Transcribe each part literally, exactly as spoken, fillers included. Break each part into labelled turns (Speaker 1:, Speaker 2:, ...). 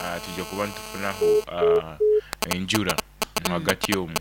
Speaker 1: uh, tujja kuba nitufunaho uh, enjura hagati omu,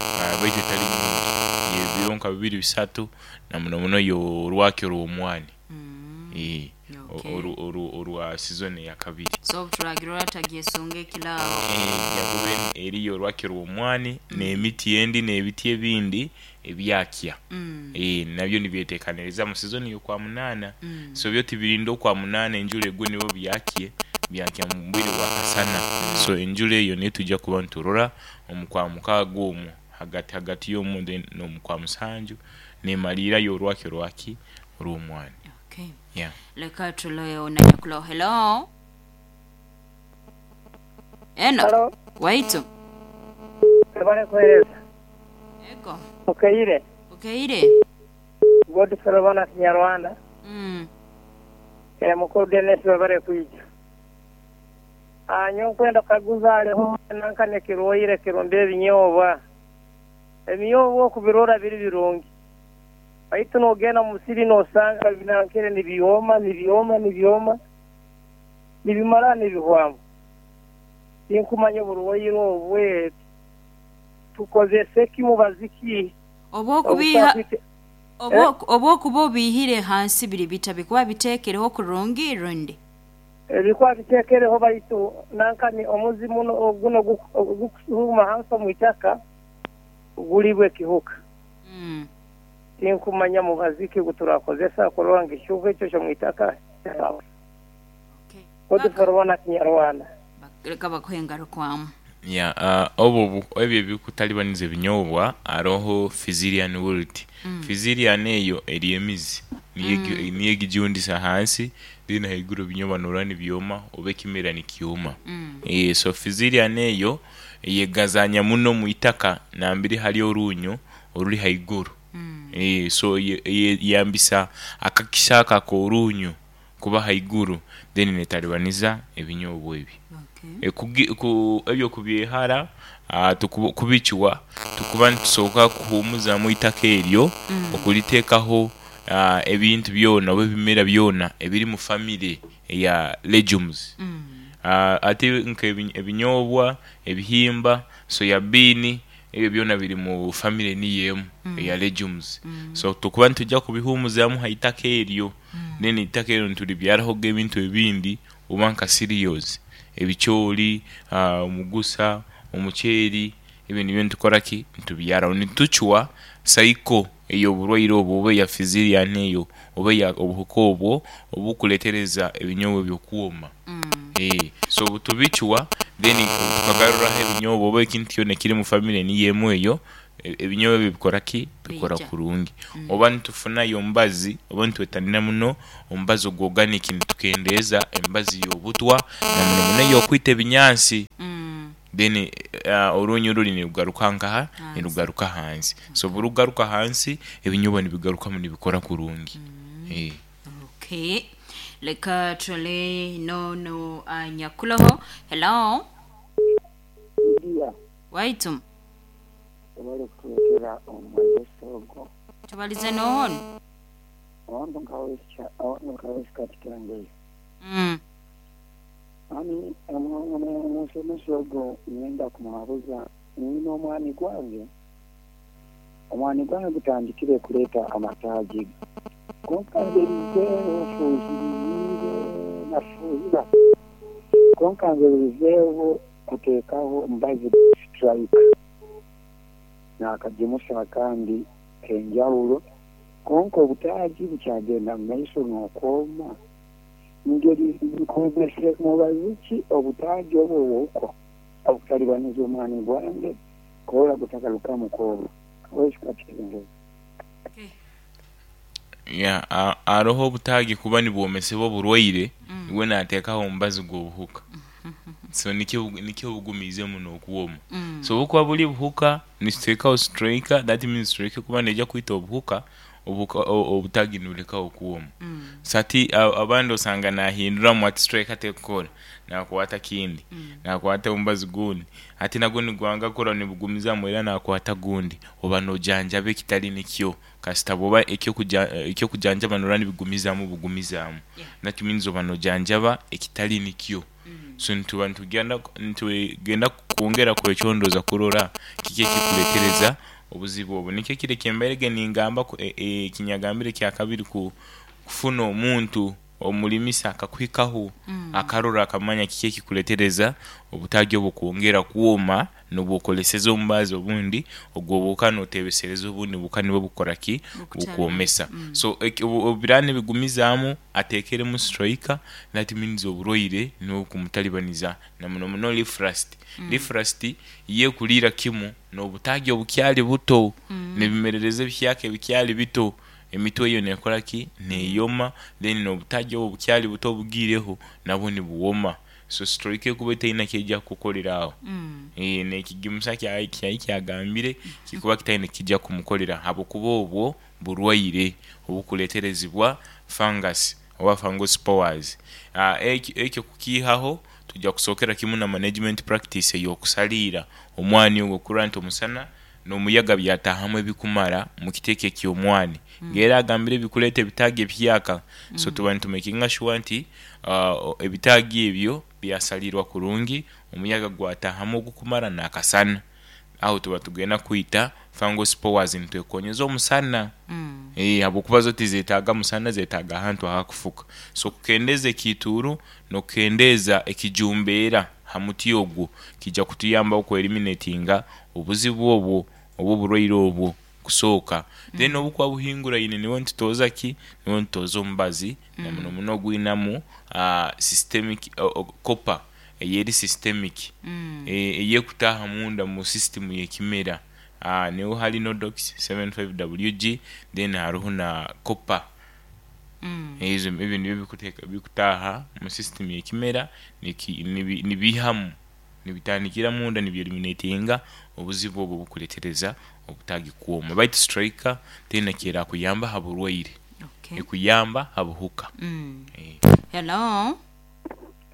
Speaker 1: uh, baitu etali nyingi, ebiro nka bibiri bisatu, na muno muno yo orwakyo orw'omwani.
Speaker 2: Mm.
Speaker 1: Eh,
Speaker 2: Okay.
Speaker 1: oru- oru- orwa season eyakabiri.
Speaker 2: So obuturagira tagyesunga ekirabo.
Speaker 1: Eh, jakuba eriyo orwakyo rw'omwani n'emiti endi n'ebiti ebindi ebyakya.
Speaker 2: Mm.
Speaker 1: Eh, nabyo nibyetekaniriza mu season y'okwa munaana.
Speaker 2: Mm.
Speaker 1: So byo tibirinda okwa munaana enjura egwe nibo byakye, byakya mu bwire bwa kasana. So enjura eyo niyo tujja kuba niturora omu kwa mukaaga omwo, hagati hagati y'omwo, then n'omu kwa musanju nemaliirayo orwakyo rwaki orw'omwani.
Speaker 2: Okay.
Speaker 1: Yeah.
Speaker 2: Leka tuleyo nanyakulo. Hello. Eno.
Speaker 3: Halo,
Speaker 2: Waitu.
Speaker 3: ebale kuhereza.
Speaker 2: Ego.
Speaker 3: Okeire,
Speaker 2: Okeire.
Speaker 3: Godfrey Bana Kinyarwanda.
Speaker 2: Mm.
Speaker 3: Eh, mukuru Dennis webale kwija. Ah, nyowe nkwenda kukaguza haliho nankane kirwaire kirumba ebinyoobwa. Ebinyoobwa okubirora biri birungi. Baitu n'ogenda mu musiri n'osanga binankere nibyoma, nibyoma, nibyoma. Nibimara nibihwamu. Tinkumanya oburwaire obwe tukozese ki, mubazi ki?
Speaker 2: Obwokubiha
Speaker 3: Obutakwite-
Speaker 2: obwo- obwokuba obihire hansi biri bita bikuba biteekereho kurungi rundi.
Speaker 3: Ebikuba biteekereho, baitu nankani omuzi muno guno gukusuuma hansi omu itaka gulibwa ekihuka.
Speaker 2: Mm.
Speaker 3: Tinkumanya mubazi ki guturakozesa kurora ngu ekihuka ekyo ky'omu itaka.
Speaker 2: Okay.
Speaker 3: Godfrey Kinyarwanda.
Speaker 2: Leka bakuhe engarukwamu.
Speaker 1: Yeah, uh, obwo bu- ebyo ebikutalibaniza ebinyobwa, haroho Fusarium wilt.
Speaker 2: Mm.
Speaker 1: Fusarium eyo eri emizi, niyo egi- niyo egijundisa hansi, then haiguru ebinyobwa norora nibyoma oba ekimera nikyoma.
Speaker 2: Mm.
Speaker 1: Eh, so Fusarium eyo yegazanya muno mu itaka nambere hali orunyo oruri haiguru.
Speaker 2: Mm.
Speaker 1: Eh, so ye- ye- yambisa akakisa ako ak'orunyo kuba haiguru, then netalibaniza ebinyobwa ebi.
Speaker 2: Okay.
Speaker 1: E, kugi- ku- ebyo kubyehara, ah, tuku- kubikiwa tukuba nitusoboka kuhumuzamu itaka eryo,
Speaker 2: Mm.
Speaker 1: okuliteekaho ah, ebintu byona oba ebimera byona ebiri mu famire eya legumes.
Speaker 2: Mm.
Speaker 1: Ah, ate nka ebi- ebinyobwa, ebihimba, soya bean, ebyo byona biri mu famire niyo emu eya legumes.
Speaker 2: Mm.
Speaker 1: So tukuba nitujja kubihumuzamu ha itaka eryo, then itaka eryo nitulibyarahoga ebintu ebindi oba nka cereals, ebicoori, ah, omugusa, omuceeri, ebyo nibyo nitukora ki, nitubyaraho, nitucwa cycle ey'oburwaire obwo oba eya Fusarium eyo oba eya obuhuka obwo obukuleetereza ebinyobwa ebyo kwoma.
Speaker 2: Mm.
Speaker 1: Eh, so butubicwa, then tukagaruraho ebinyobwa oba ekintu kyona ekiri mu famire niyo emu eyo, e- ebinyobwa ebyo bikora ki, bikora
Speaker 2: Bija.
Speaker 1: kurungi. Oba nitufunayo omubazi oba nitwetanira muno omubazi ogw'organic, nitukendeeza emibazi y'obutwa na muno muno ey'okwita ebinyansi.
Speaker 2: Mm.
Speaker 1: Then uh, orunyu ruri nirugaruka nkaha?
Speaker 2: Hansi.
Speaker 1: Nirugaruka hansi. So burugaruka hansi, ebinyobwa nibigarukamu nibikora kurungi. Eh.
Speaker 2: Okay. Leka tule no no uh, nyakuloho. Hello.
Speaker 4: Ndiya.
Speaker 2: Waitu.
Speaker 4: Ebale kutuletera omumagesa ogwo.
Speaker 2: Tubalize nohono.
Speaker 4: Owantu nkawesi katikangeyo.
Speaker 2: Mm.
Speaker 4: Ani omusomesa ogwo ngenda kumuhabuza, nina omwani gwange, omwani gwange gutandikire kuleeta amataagi, konka ngerizeeho fuhiriire nafuhira, konka ngerizeeho kuteekaho omubazi Strike nakagimusa akandi kenjawulo, konka obutaagi bukyagenda mu maiso n'okwoma. Ngeri nkozese mubazi ki obutaagi obwo obwo obutalibaniza omwani gwange kola gutagarukamu kwoma? Wekikakirengeyo.
Speaker 2: Okay.
Speaker 1: Yeah, uh, aroho obutaagi kuba nibwomesebwa oburwaire, iwe nateekaho omubazi gw'obuhuka, so nikyo nikyo bugumiize muno okuwoma.
Speaker 2: Mm.
Speaker 1: So obukuba buli buhuka, nituteekaho Striker. That means Striker kuba neija kwita obuhuka. Obuka- o- obutagi nibulekaho okuwoma. So hati a- abandi osanga nahinduramu ati striker tekukora, nakwata kindi, nakwata omubazi gundi, hati nagwo nigwanga kukora, nibugumizamu era nakwata gundi. Oba nojanjaba ekitali nikyo. Kasita bwoba ekyokuja- ekyokujanjaba norora nibigumizamu bugumizamu,
Speaker 2: Yeah.
Speaker 1: that means oba nojanjaba ekitali nikyo. So nituba nitugenda nitugenda kwongera kwekyondoza kurora kiki ekikuletereza obuzibu obu. Nikyo kiri kyembairege ningamba ku- e- e, ekinyagambire kyakabiri, ku kufuna omuntu omulimisa akakuhikaho, akarora, akamanya kiki ekikuletereza obutagi obwo kwongera kwoma nobwokoleseza omubazi obundi ogwo buka notebesereza obundi buka nibwo bukora ki?
Speaker 2: Bukutara.
Speaker 1: Bukwomesa. So eki- obu- obubira nibigumizaamu atekeremu striker, that means oburwaire nibwo bukumutalibaniza, na muno muno leaf rust. Leaf rust yekuliira kimu n'obutagi obukyali buto, nibimerereza ebihyaka ebikyali bito, emitwe eyo nekora ki? Neyoma. Then n'obutagi obwo obukyali buto obugiireho nabwo nibuwoma. So striker ekuba etaina kyejja kukukolera aho.
Speaker 2: Mm.
Speaker 1: Eh, nekigimusa kyayi kyayi kyagambire kikuba kitaine kijja kumukolera, habwokuba obwo burwaire obukuleterezibwa fungus oba fungal spores. Ah, ekyo ekyo kukiihaho tujja kusookera kimu na management practice ey'okusaliira omwani ogwo, kurora nti omusana n'omuyaga byatahamu ebikumara mu kiteeke eky'omwani, ng'era agambire ebikuleeta ebitaagi ebihyaka. So tuba nitumakinga sure nti ah, ebitaagi ebyo byasalirwa kurungi, omuyaga gwatahamu ogukumara n'akasana. Aho tuba tugenda kwita fungal spores nitwekonyeza omusana.
Speaker 2: Mm.
Speaker 1: Eh, habwokuba zo tizetaaga musana, zetaaga ahantu ahakufuka. So kukendeeza ekiituuru n'okukendeeza ekijumbeera ha muti ogwo kijja kutuyambaho kweliminatinga obuzibu obwo oba oburwaire obwo kusooka. Then obukuba buhinguraine niwo nitutoza ki? Niwo nitutoza omubazi, na muno muno ogwinamu ah, systemic o- o- copper eyeri systemic,
Speaker 2: Mm.
Speaker 1: e- eyekutaaha munda mu system y'ekimera. Ah, niho hari Nodox seventy-five W G, then hariho na copper.
Speaker 2: Mm.
Speaker 1: Ezo ebyo nibyo bikuteeka bikutaaha mu system y'ekimera, niki- nibi- nibiihamu, nibitandikira munda, nibyeliminatinga obuzibu obwo obukuletereza obutagi kwoma. Baitu striker tena kyerakuyamba ha burwaire,
Speaker 2: Okay.
Speaker 1: ekuyamba ha buhuka.
Speaker 2: Mm.
Speaker 1: Eh.
Speaker 2: Hello.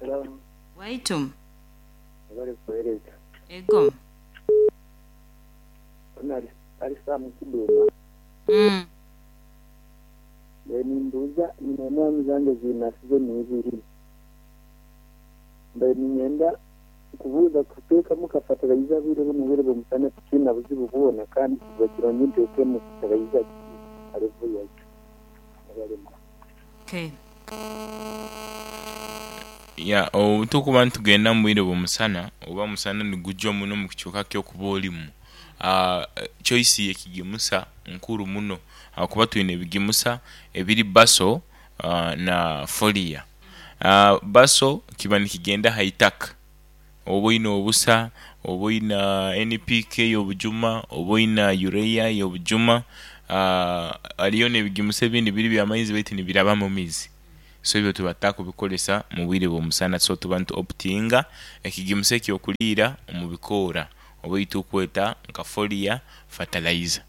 Speaker 4: Hello,
Speaker 2: Waitu.
Speaker 4: bari kuhereza.
Speaker 2: Ego.
Speaker 4: Ono ali ali Sam Kiduma.
Speaker 2: Mm.
Speaker 4: Nimbuuza nyina emwami zange zirina sizoni ibiri. Mbaire ninyenda kubuuza kuteekamu ka fertilizer bwire buno, bwire bw'omusana, tikiina buzibu bwona, kandi kiba kirungi nteekemu fertilizer ki alevu yaitu abalema?
Speaker 2: Okay.
Speaker 1: Ya, obu tukuba nitugenda mu bwire bw'omusana oba musana nigujwa muno mu kicweka ky'okuba olimu, uh, choice y'ekigimusa nkuru muno, habwokuba twine ebigimusa ebiri basal uh, na foliar. uh, basal kiba nikigenda ha itaka, oba oine obusa, oba oina N P K y'obujuma, oba oina urea y'obujuma. uh, hariyo n'ebigimusa ebindi biri byamaizi baitu nibiraba mu mizi, so ebyo tuba tutakubikozesa mu bwire bw'omusana. So tuba nitu optinga ekigimusa ekyokuliira omu bikoora oba eitukweta nka foliar fertilizer.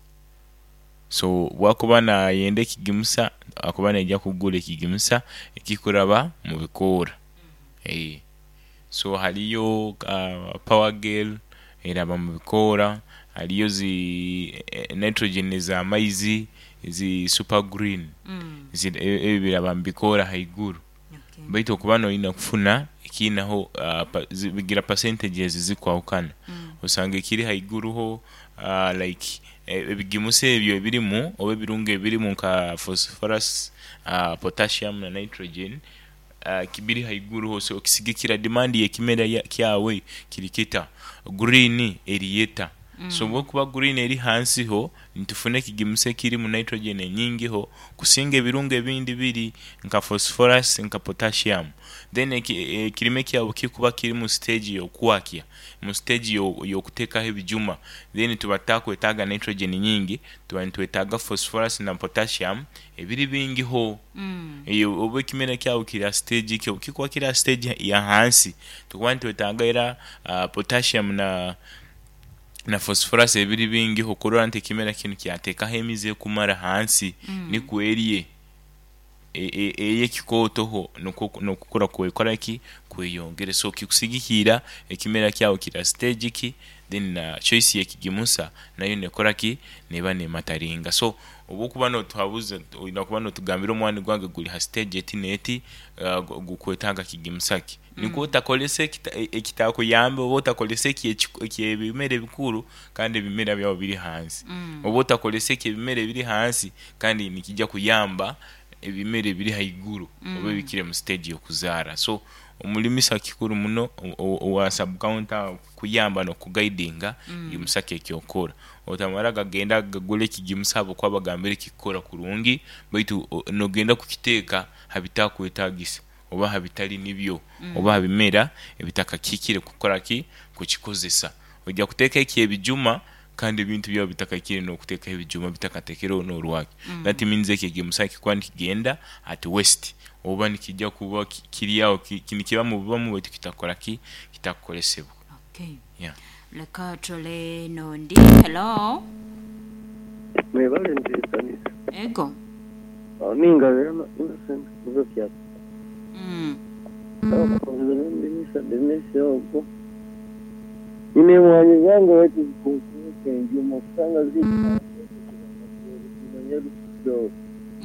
Speaker 1: So bwakuba nayenda ekigimusa, akuba naija kugura ekigimusa ekikuraba mu bikoora. Eh. So hariyo uh, Power Gel eraba mu bikoora, hariyo zi eh, nitrogen ez'amaizi zi Super Green.
Speaker 2: Mm.
Speaker 1: Zi- e- ebi biraba mu bikoora haiguru.
Speaker 2: Okay.
Speaker 1: Baitu okuba noyina kufuna ekiinaho uh, pa, zi- bigira percentages zikwahukana.
Speaker 2: Mm.
Speaker 1: Osanga ekiri haiguruho uh, like eh, ebigimusa ebyo ebirimu oba ebirungo ebirimu nka phosphorus, uh, potassium na nitrogen, uh, kibiri haiguruho. So okisigikira demand y'ekimera ya- kyawe kiri kita, green eriyeta.
Speaker 2: Mm.
Speaker 1: So bwokuba green eri hansiho, nitufuna ekigimusa ekirimu nitrogen enyingiho kusinga ebirungo ebindi biri nka phosphorus, nka potassium. Then eki- ekirime kyabo kikuba kiri mu stage y'okwakya, mu stage yo- y'okuteekaho ebijuma, then tuba tutakwetaaga nitrogen nyingi, tuba nitwetaaga phosphorus na potassium ebiri bingiho.
Speaker 2: Mm.
Speaker 1: Eyo oba ekimera kyawe kiri ha stage ki? Kikuba kiri ha stage ya hansi, tukuba nitwetaaga era uh, potassium na Na phosphorus ebiri bingi okurora nti ekimera kinu kyateekaho emizi ekumara hansi
Speaker 2: Mm.
Speaker 1: nikwo erye ey'ekikootoho nukwo nokukura kwekora ki kweyongere. So kikusigikiira ekimera kyawe kiri ha stage ki, then na choice y'ekigimusa nayo nekora ki neba nemataringa. So obu okuba notuhabuza oyina kuba notugambira omwani gwange guri ha stage eti n'eti, uh, gukwetaaga kigimusa ki nikwo otakozesa ekitakuyamba oba otakozesa eky'ebimera ebikuru kandi ebimera byawe biri hansi,
Speaker 2: Mm.
Speaker 1: oba otakozesa eky'ebimera ebiri hansi kandi nikijja kuyamba ebimera ebiri haiguru oba ebikiri mu stage y'okuzaara. So omulimisa kikuru muno owa sub county aho kukuyamba n'okuguidinga kigimusa ki ekyokukora, otamara gagenda gagura ekigimusa habwokuba bagambire kikukora kurungi baitu nogenda kukiteeka ha bitakwetaagisa oba ha bitali nibyo oba ha bimera ebitakakihikire kukora ki kukikozesa. Oija kuteekaho eky'ebijuma kandi ebintu byawe bitakahikire n'okuteekaho ebijuma bitakateekereho n'orwakyo, that means eki ekigimusa kikuba nikigenda at waste oba nikijja kuba kiri aho nikibamu bubamu baitu kitakora ki kitakukozesebwa.
Speaker 2: Okay.
Speaker 1: Yeah.
Speaker 2: Leka turole n'ondi. Hello.
Speaker 4: Mwebale nteekaniza.
Speaker 2: Ego.
Speaker 4: Ningabira Innocent kuva Kyata.
Speaker 2: Mm.
Speaker 4: Ndimisa Denisi ogwo. Nyine emwanyi zange baitu zikunkumuka enjuma kusanga ziri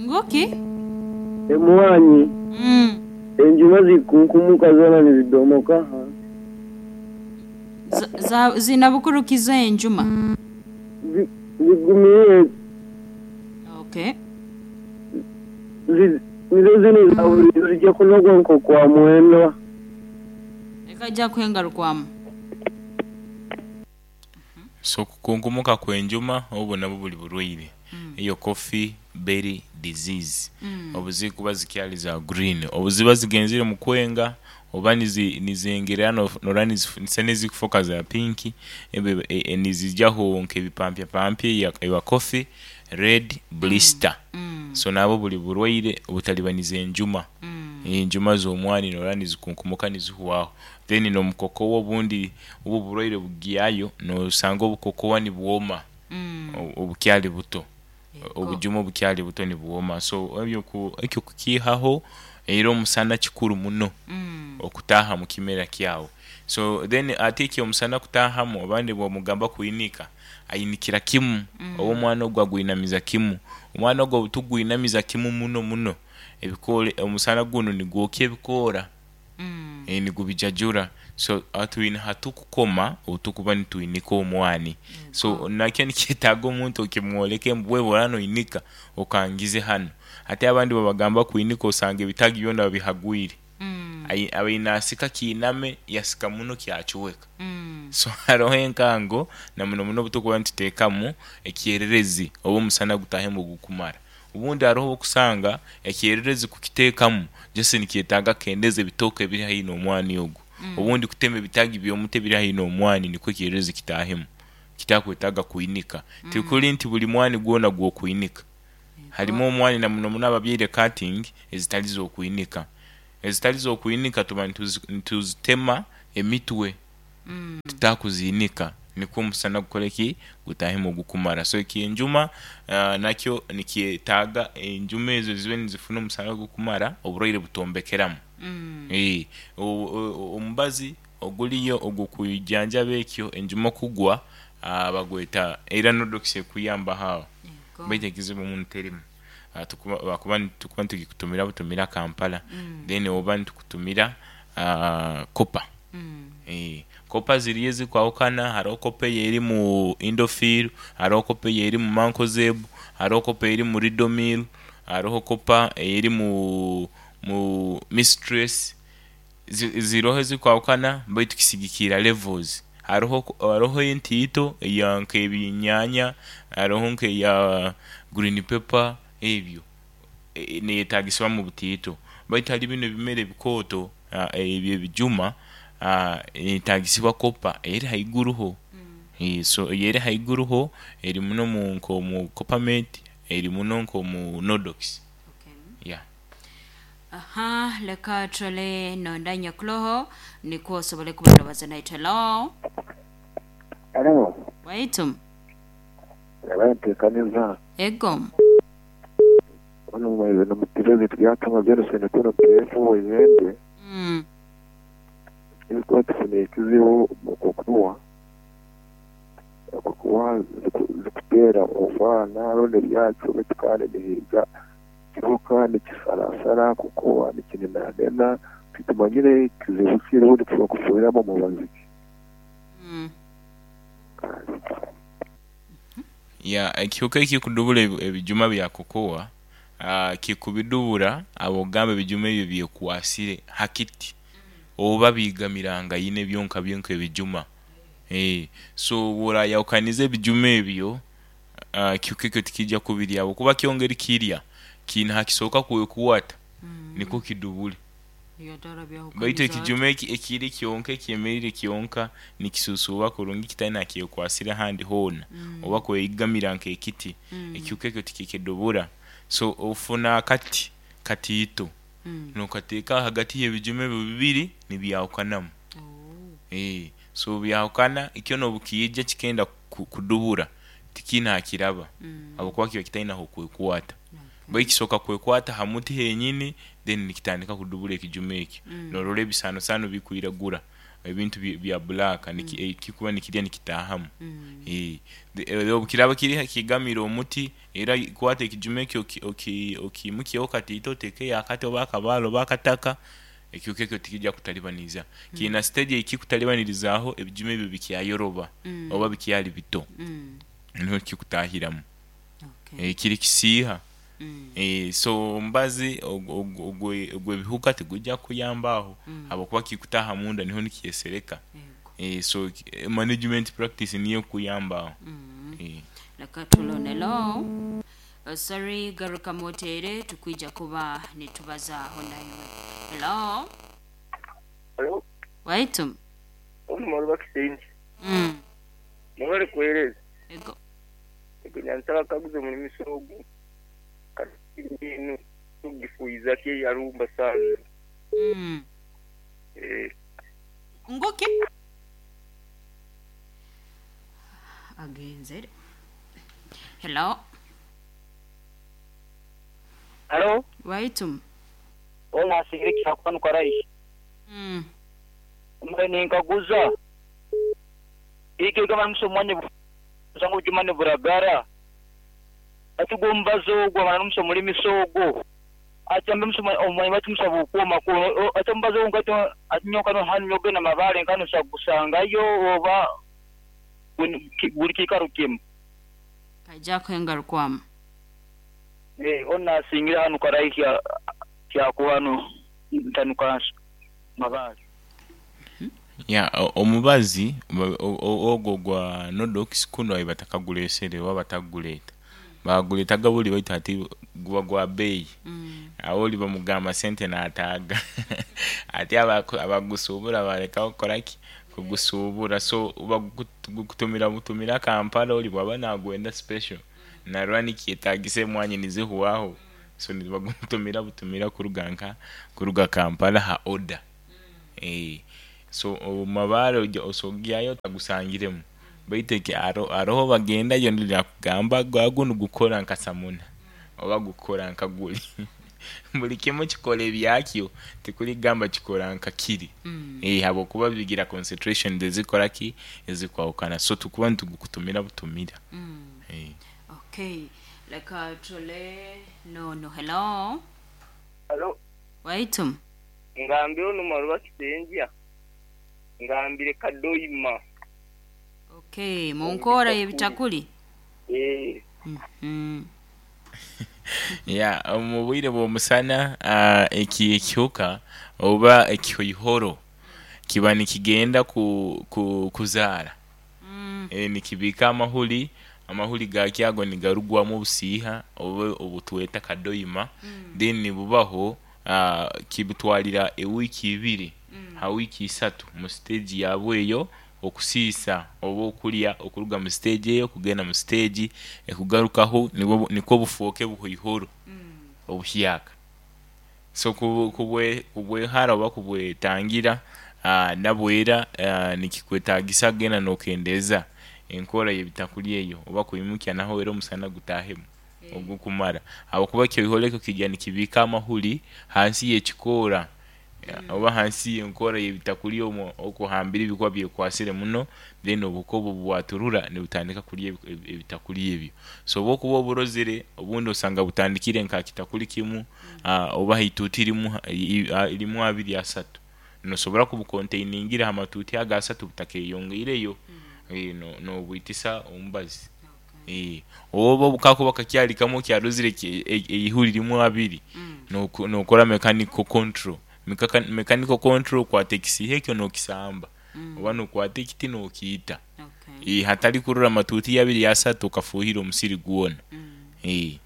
Speaker 2: Nguki?
Speaker 4: Emwanyi
Speaker 2: Mm.
Speaker 4: enjuma zikunkumuka zoona nizidomoka hansi.
Speaker 2: Za- za- zina bukurukiza enjuma.
Speaker 4: Zi- Zigumire
Speaker 2: Okay.
Speaker 4: zi- nizo zinu za buli zijja kunogwa nko kwa mwendwa.
Speaker 2: Leka ajja kwengarukwamu.
Speaker 1: So kukunkumuka kw'enjuma obwo nabwo buli burwaire, eyo coffee berry disease,
Speaker 2: Mm.
Speaker 1: obu zikuba zikyali za green, obu ziba zigenzere mu kwenga oba nizi nizengerera norora nizisa n'ezikufoka za pinki, ebe e, nizijaho nk'ebipampyapampya ewa coffee red blister.
Speaker 2: Mm.
Speaker 1: So nabwo buli burwaire obutalibaniza enjuma.
Speaker 2: Mm.
Speaker 1: Enjuma z'omwani norora nizikunkumuka nizihwaho, then n'omukokowa obundi obu oburwaire bugyayo nosanga obukokowa nibwoma
Speaker 2: Mm.
Speaker 1: obukyali buto,
Speaker 2: Ego.
Speaker 1: obujuma obukyali buto nibwoma. So ebyo ekyo kukiihaho era omusana kikuru muno
Speaker 2: Mm.
Speaker 1: okutaaha mu kimera kyawe. So then ate eki omusana kutaahamu abandi bamugamba kwinika ainikira kimu oba omwana ogu agwinamiza kimu, omwana ogu obu tugwinamiza kimu muno muno ebikoora omusana gunu nigwokya ebikoora,
Speaker 2: Mm.
Speaker 1: e, nigubijajura. So twine hatukukoma obu tukuba nitwinika omwani, so nakyo nikyetaaga omuntu okimwoleke ngu bw'oraba noinika okangize hanu. Hati abandi babagamba kwinika osanga ebitaagi byona babihagwire,
Speaker 2: Mm.
Speaker 1: abaire naasika kiiname yasika muno kyacweka.
Speaker 2: Mm.
Speaker 1: So haroho enkango na muno muno obu tukuba nituteekamu ekyererezi oba omusana gutaahemu gukumara. Obundi haroho obu okusanga ekyererezi kukiteekamu just nikyetaaga kukendeeza ebitooke ebiri haihi n'omwani ogu, obundi kutema ebitaagi by'omuti ebiri haihi n'omwani nikwo ekyererezi kitaahemu kitakwetaaga kwinika. Tikuli nti buli mwani gwona gw'okwinika, harimu omwani na muno muno ababyaire cutting ezitali z'okwinika. Ezitali z'okwinika tuba nituzitema emitwe
Speaker 2: Mm.
Speaker 1: tutakuziinika nikwo omusana gukore ki gutaahemu gukumara. So eky'enjuma uh, nakyo nikyetaaga enjuma ezo zibe nizifuna omusana gukumara oburwaire butombekeramu.
Speaker 2: Mm.
Speaker 1: E, omubazi oguliyo ogw'okwijanjaba ekyo enjuma okugwa uh, bagweta era Nodox ekuyambaho aho,
Speaker 2: Ego.
Speaker 1: baitu ekizibu muno terimu. Uh, tukuba bakuba tukuba nitugikutumira butumira Kampala,
Speaker 2: Mm.
Speaker 1: then oba nitukutumira uh, copper.
Speaker 2: Mm.
Speaker 1: E, copper ziriyo ezikwahukana, haroho copper ey'eri mu Indofil, haroho copper ey'eri mu Mancozeb, haroho copper ey'eri mu Ridomil, haroho copper ey'eri mu mu Mistress. Ziroho ezikwahukana baitu kisigikiira levels. Haroho haroho entiito eya nk'ebinyaanya, haroho nk'eya green pepper ebyo e, neyetaagisibwa mu butiito, baitu hali binu ebimera ebikooto ebyo ebijuma neyetaagisibwa copper eri haiguruho. E, so ey'eri haiguruho eri muno mu nk'omu Coppermate, eri muno nk'omu Nodox.
Speaker 2: Okay.
Speaker 1: Yeah.
Speaker 2: Aha, leka turole nonda nyakuloho nikwo osobole kuba nobaza naitwe. Hello.
Speaker 4: Hello.
Speaker 2: Waitu.
Speaker 5: Abayanteekaniza.
Speaker 2: Ego.
Speaker 5: Ono nomutebezi tubyatanga byarose nikono pefu wezende.
Speaker 2: Mm.
Speaker 5: Ilikuwa tufune ekizibu mu kukuwa. Kukuwa zikutera omwana ronde byacu betukane bihiga. Kiruka nikisarasara kukuwa nikinenanena titumanyire kizibu kiriho nitushobora kufuhiramo mubazi.
Speaker 2: Mm.
Speaker 1: Ya ekihuka ekikudubula ebijuma bya kokoa uh, kikubidubura abogamba ebijuma ebyo byekwasire hakiti oba bigamiranga yine byonka byonka ebijuma. Eh so burayawukaniza ebijuma ebyo uh, kihuka ekyo tikijja kubirya kuba kyongeri kirya kina hakisoka kwekuwata
Speaker 2: Mm.
Speaker 1: niko kidubule.
Speaker 2: Yatara byawukaniza.
Speaker 1: Baitu ekijuma eki ekiri kyonka ekyemerire kyonka nikisusuba kurungi kitali nakyekwasire handi hoona
Speaker 2: Mm.
Speaker 1: oba kweyigamira nk'ekiti
Speaker 2: Mm.
Speaker 1: ekihuka ekyo tikikidubura. So ofuna akati katiito
Speaker 2: Mm.
Speaker 1: nokateeka hagati y'ebijuma ebyo bibiri nibyawukanamu.
Speaker 2: Oh.
Speaker 1: Eh, so byawukana ikyo nobukijja kikenda ku- kudubura tikinakiraba
Speaker 2: Mm.
Speaker 1: habwokuba kiba kitalina hokwekwata.
Speaker 2: Okay.
Speaker 1: Baitu kisoka kwekwata ha muti henyini then nikitandika kudubura ekijuma ekyo.
Speaker 2: Mm.
Speaker 1: Norora ebisanosano bikwiragura ebintu bya- bya black niki eh, kikuba nikirya nikitahamu.
Speaker 2: Mm.
Speaker 1: Eh, de- obukiraba kiri kigamira omuti era kwata ekijuma ekyo oki- oki- okimukyeho katiito otekeyo akati oba akabaale oba akataka ekihuka ekyo tikijja kutalibaniza. Kiina stage ekikutalibanirizaho ebijuma ebyo bikyayoroba
Speaker 2: Mm.
Speaker 1: oba bikyali bito
Speaker 2: Mm.
Speaker 1: niho kikutahiramu.
Speaker 2: Okay.
Speaker 1: Eh, kiri kisiiha.
Speaker 2: Mm.
Speaker 1: Eh, so omubazi ogw'ebihuka tegujja kuyambaho
Speaker 2: Mm.
Speaker 1: habwokuba kikutaha munda niho nikyesereka.
Speaker 2: Ego.
Speaker 1: Eh, so eh, management practice niyo kuyambaho.
Speaker 2: Mm.
Speaker 1: Eh.
Speaker 2: Leka tulonelo. Uh, sorry garuka motere tukwija kuba nitubazaaho naiwe. Hello.
Speaker 3: Hello,
Speaker 2: Waitu.
Speaker 3: ono maruba kisenyi.
Speaker 2: Mm.
Speaker 3: Mwebale kuweereza.
Speaker 2: Ego.
Speaker 3: Nyansaba kaguze omulimisa ogu. Kati eno tugifuyiza ki eyalumba sana.
Speaker 2: Mm.
Speaker 3: Eh,
Speaker 2: Nguki. Agenzere. Hello.
Speaker 6: Halo,
Speaker 2: Waitu.
Speaker 6: ona asigire kyakubanu karaisi.
Speaker 2: Mm.
Speaker 6: Mbe ninkaguza. Iki kama msomwani zangu jumani buragara. Ati gombazo ogwo amana n'omusoma ogwo. Ati ambe musoma omwanyi bati musaba okuoma ko ati ombazo ngati atinyoka no hanu yogena mabale nkano sakusangayo oba buli kikaro kimu.
Speaker 2: Kaija kwengarukwamu.
Speaker 6: Eh, ona asingira hanu karaisi kyakubanu ntanuka mabale.
Speaker 1: Ya omubazi ogwo gwa Nodox kuno ayi batakaguleesere oba bataguleeta. Baguleetaga buli baitu ati guba gwa bbeeyi.
Speaker 2: Mm.
Speaker 1: Awo oli bamugamba sente n'ataaga. Ate abagusuubula balekawo kukola ki? Kugusuubula. So bagukutumira butumira Kampala oli bw'aba naagwenda special. Narora nikyetaagisa emwanyi nizihwaho. So nibagutumira butumira kuruga nka kuruga Kampala ha order. Eh. So omumabaare osogyayo tagusangiremu. Baitu eki aroho bagendayo ndakugamba gwagunu gukora nka samuna oba gukora nka guli. Buli kimu kikora ebyakyo tikuligamba kikora nka kiri.
Speaker 2: Mm.
Speaker 1: Eh, habwokuba bigira concentration ezikora ki ezikwawukana. So tukuba nitugukutumira butumira.
Speaker 2: Mm.
Speaker 1: Eh.
Speaker 2: Okay. Leka tule no no hello.
Speaker 3: Hello,
Speaker 2: Waitu.
Speaker 3: ngambire ono maruba kisenja. Ngambire kadoima.
Speaker 2: Okay, munkora y'ebitakuli.
Speaker 3: Eh,
Speaker 2: Mm.
Speaker 1: Ya omu bwire bw'omusana uh, eki ekihuka oba ekihoihoro kiba nikigenda ku, ku, kuzaara.
Speaker 2: Mm.
Speaker 1: E, nikibiika amahuri amahuri gakyo ago nigarugwamu obusiiha oba obutweta kadoima.
Speaker 2: Mm.
Speaker 1: Then nibubaho uh, kibutwalira ewiiki ibiri
Speaker 2: Mm.
Speaker 1: ha wiiki isatu mu stage yaabwe eyo okusiisa oba okulya okuruga mu stage eyo kugenda mu stage ekugarukaho nibwo nikwo bufuuke buhoihoro
Speaker 2: Mm.
Speaker 1: obuhyaka. So kubwe kubwehara oba kubwetangira uh, nabwera uh, nikikwetaagisa genda n'okendeeza Enkora y'ebitakuli eyo oba kwimukya naho era omusana gutahemu ogukumara, habwokuba ekyoiholo ekyo kijya nikibiika amahuri hansi y'ekikoora oba hansi y'enkora y'ebitakuli omwo okuhambira ebikuba byekwasire muno, then obuhuka obu bwaturura nibutandika kulya ebi- ebi- ebitakuli ebyo. So obu okuba oburozire, obundi osanga butandikire nka ha kitakuli kimu, ah, oba ha ituuti limu, i- i- limu, abiri, asatu, nosobora kubukontainingira ha matuuti ago asatu butakeyongeireyo, eh, no- nobwitisa omubazi. Eh, oba obu kakuba kakyali kamwe okyarozire ki- e- eihuri limu abiri, noku- nokora mechanical control. Mekaka- mechanical control okwata ekisiiha ekyo nookisamba oba nokwata ekiti nookiita.
Speaker 2: Okay.
Speaker 1: Eh, hatali kurora amatuuti abiri asatu okafuuhira omusiri gwona. Eh.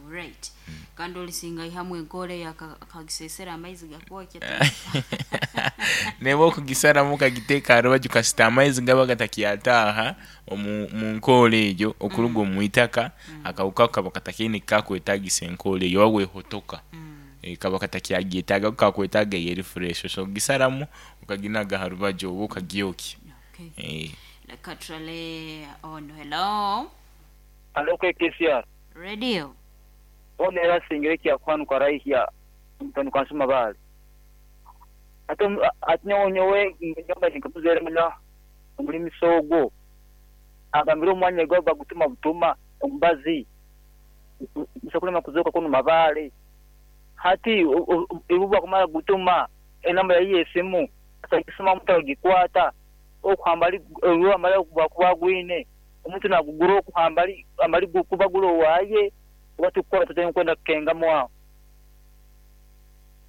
Speaker 2: Alright. Kandi olisinga ihamu enkora eyo aka- akagisesera amaizi gakwokya.
Speaker 1: Neba okugisaramu okagiteeka ha rubaju kasita amaizi gaba gatakyataaha omu mu nkoora egyo okuruga omu itaka, akahuka ako kaba katakiine kikakwetagisa enkoora eyo oba bwehotoka, Eh, kaba katakyagyetaaga ko kakwetaaga eyo eri fresh, so ogisaramu okaginaga ha rubaju oba okagyokya.
Speaker 2: Okay.
Speaker 1: Eh.
Speaker 2: Leka turale ono. Hello.
Speaker 6: Alo K K C R.
Speaker 2: Radio.
Speaker 6: Ono era asingire ekyakuhanuka raihya mutandika nsoma baali ate omu- ate nyowe nyowe nyomba ninkamuzeere muno omulimisa ogwo agambire omwanya gwa bagutuma butuma omubazi musa kulema kuzoka kunu mabaale hati ibu bakumara gutuma enamba yayiye esimu atagisoma omuntu agikwata okuhamba amara kuba gwine omuntu nagugura okuhamba amali kuba gula owaaye oba tukukora tutya nkwenda kukengamu awo.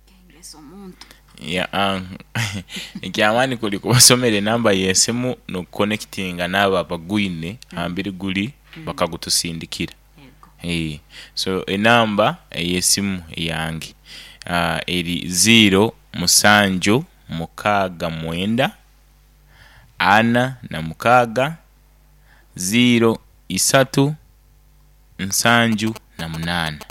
Speaker 2: Kengesa omuntu.
Speaker 1: Ya, ah, ekyamaani kuli kubasomera enamba y'esimu n'okuconnectinga n'abo abagwine hambiri guli bakagutusindikira.
Speaker 2: Yego.
Speaker 1: Eh, so enamba ey'esimu eyange uh, eri ziro musanju mukaaga mwenda ana na mukaaga ziro isatu nsanju na munaana,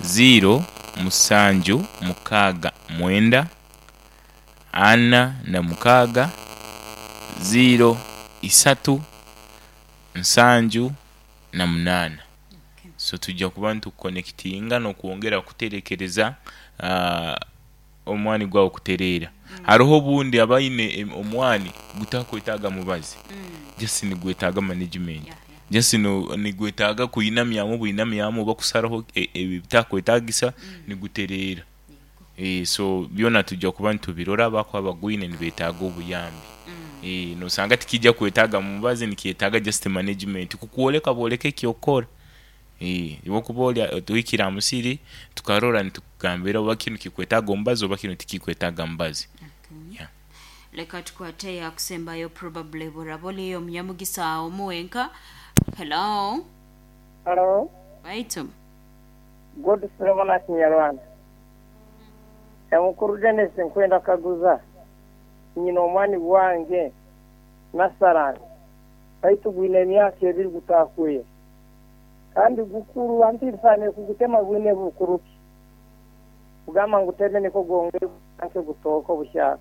Speaker 1: ziro musanju mukaaga mwenda ana na mukaaga ziro isatu nsanju na munaana.
Speaker 2: Okay.
Speaker 1: So tujja kuba nitukuconnectinga n'okwongera kuterekereza uh, omwani gwawe kutereera. Haroho obundi abaine em- omwani gutakwetaaga mubazi, just nigwetaaga management.
Speaker 2: Yeah, yeah.
Speaker 1: Just no, nigwetaaga kwinamyamu bwinamyamu oba kusaraho e- ebitakwetagisa nigutereera. Eh, so byona tujja kuba nitubirora abakuba bagwine nibetaaga obuyambi. Eh, nosanga tikijja kwetaaga mubazi, nikyetaaga just management kukwoleka bwoleka ekyokukora. Eh, iwe okuba oli tuhikire ha musiri tukarora nitukugambira oba kinu kikwetaaga omubazi oba kinu tikikwetaaga mubazi.
Speaker 2: Okay.
Speaker 1: Yeah.
Speaker 2: Leka tukwate yakusembayo, probably buraba oliyo omunyamugisa omu wenka. Hello.
Speaker 3: Halo.
Speaker 2: Baitu.
Speaker 3: God Solomon Kinyarwanda. Emukuru Dennis, nkwenda kaguza nyina omwani gwange nasarani baitu gwine emyaka ebiri gutakuye kandi gukuru antirisane kugutema gwine bukuru ki kugamba nguteme niko gwongere anke gutoka obuhyaka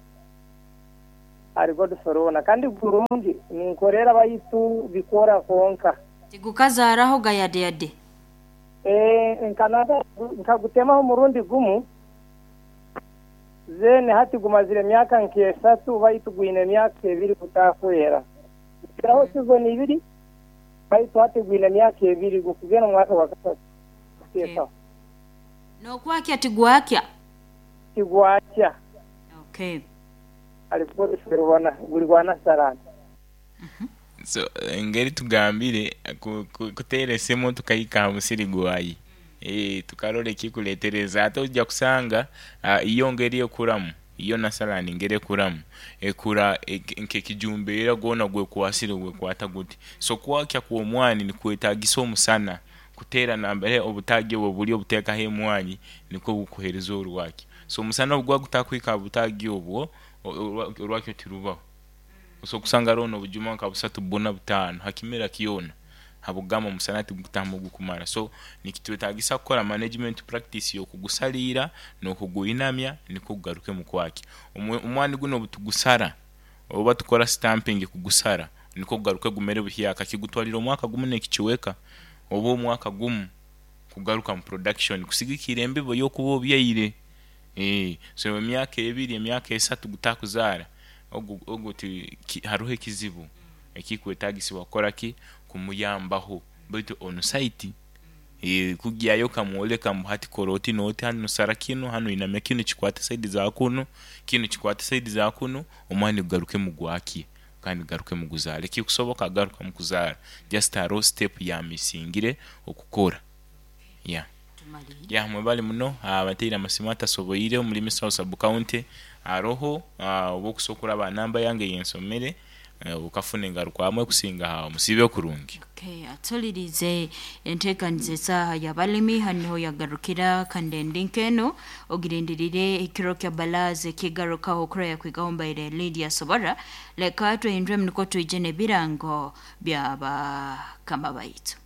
Speaker 3: ari God Solomon kandi gurungi ninkorera baitu bikora konka.
Speaker 2: Tigukazaaraho gayadeyade.
Speaker 3: Eh, nkanada nkagutemaho murundi gumu, zene hati gumazire emyaka nk'esatu baitu gwine emyaka ebiri gutakwera kiraho season ibiri baitu hati gwine emyaka ebiri gukugenda mu mwaka wa kasatu.
Speaker 2: Okay. Nokwakya tigwakya.
Speaker 3: Tigwakya.
Speaker 2: Okay.
Speaker 3: Alikuwa guli gwa nasarani.
Speaker 1: So engeri tugambire ku- ku- kuteera esimu tukahika ha musiri gwayi, eh, tukarora ekikuleetereza ate ojja kusanga ah, iyo ngeri ekuramu iyo nasalani ngeri ekuramu ekura ek- nk'ekijumbeera gwona gwekwasire gwekwata guti. So kwakya kw'omwani nikwetagisa omusana kuteera nambere obutaagi obwo buli obuteekaho emwanyi nikwo bukuheereza orwakyo. So omusana obu guba gutakuhika ha butaagi obwo, o- orwa- orwakyo tirubaho. So okusanga hariho n'obujuma nka busatu, buna, butaano ha kimera kyona habugamba omusana tigutamu gukumara. So nikitwetagisa kukora management practice y'okugusaliira n'okugwinamya nikwo gugaruke mu kwakya. Omwe- omwani guno obu tugusara oba tukora stamping kugusara. Niko kugaruka gumere buhyaka kigutwalira omwaka gumu n'ekikiweka oba omwaka gumu kugaruka mu production kusigikira embibo y'okuba obyaire. Eh, so emyaka ebiri, emyaka esatu gutakuzaara, ogu ogu ti ki, haruho ekizibu ekikwetagisibwa kukora ki, kumuyambaho, baitu on site eh, kugyayo okamwoleka mbu hati kora oti n'oti, hanu sara kinu, hanu inamya kinu kikwate saidi za kunu, kinu kikwate saidi za kunu, omwani gugarukemu gwakye kandi gugarukemu guzaare. Kikusoboka garukamu kuzaara, just haroho step yamisingire okukora. Yeah.
Speaker 2: Tumalire.
Speaker 1: Ya, mwebale muno abateire amasimu atasoboire omuri Misaho sub county aroho, ah, oba okusobola kuraba namba yange yensomere, eh, okafuna engarukwamu ekusinga aho musiibe kurungi.
Speaker 2: Okay, atulirize enteekaniza esaaha y'abalimi haniho yagarukira kandi endi nk'eno ogirindirire ekiro kya balaza ekigarukaho okuraya kwigaho mbaire Lydia Sobora. Leka tuhinduremu niko twije n'ebirango by'abakama baitu.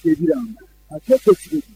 Speaker 4: Ebirango ateeka ekirezi.